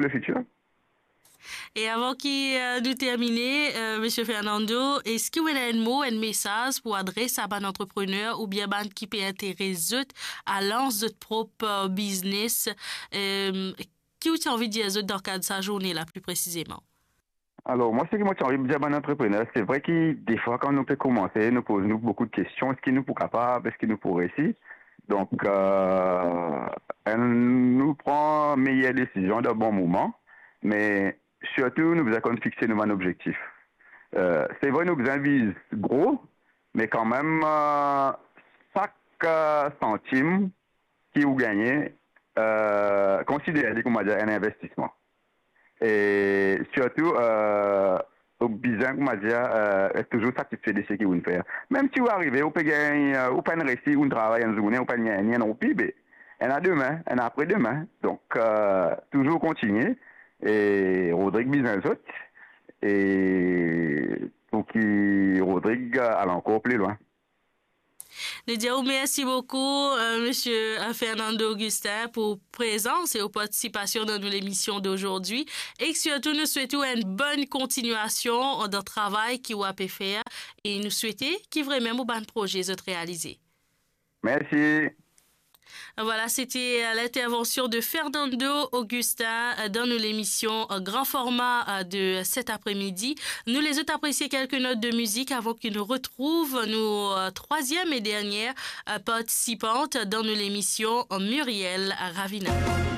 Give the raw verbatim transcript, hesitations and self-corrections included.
le futur. E avan ki, euh, nou termine, euh, Monsieur Fernando, eski ou ena enn mo, enn mesaz pou adres a bann antreprener oubien bann ki pe interes zot a lans zot prop, euh, biznes? Euh, ki ou ti anvi dir zot dan kad sa zourne la, pli presizeman? Alor, mwa, seki mo ti anvi dir bann antreprener, se vre ki defwa, kan nou pe koumanse, nou poz nou boukou de kestion, eski nou pou kapav, eski nou pou resi? Donk, euh, nou pran meyer desizion dan bon moman, me sirtou, nou bizin konn fixe nou bann obzektif. Euh, se vre, nou bizin viz gro, me kanmem, euh, sak, euh, santim ki ou gagne, euh, konsider li, kouma dir, enn investisman. E sirtou, euh, ou bizin, kouma dir, euh, et touzour satisfe de seki ou finn fer. Mem si ou arive, ou pe gagn, euh, ou pa'nn resi, ou travay enn zourne, ou pa'nn gagn enn roupi, be, ena demin, ena apre demin. Donk, euh, touzour kontigne, e Rodrig bizin zot, e pou ki Rodrig, euh, al ankor pli lwin. Nou dir ou mersi boukou, euh, Monsieur, euh, Fernando Augustin, pou prezans e ou partisipasion dan nou lemision d'aujourd'hui. E sirtou, nou swet ou enn bonn kontinuasion dan travay ki ou ape fer. E nou swete ki vremem ou bann proze zot realize. Mersi. Voilà, c'était, euh, l'intervention de Fernando Augustin, euh, dans nos émissions, euh, grand format, euh, de cet après-midi. Nou lezot apresie kelke not de mizik avan ki nou retrouv nou, euh, troisième et dernière, euh, participante dans nos émissions, euh, Muriel Ravina.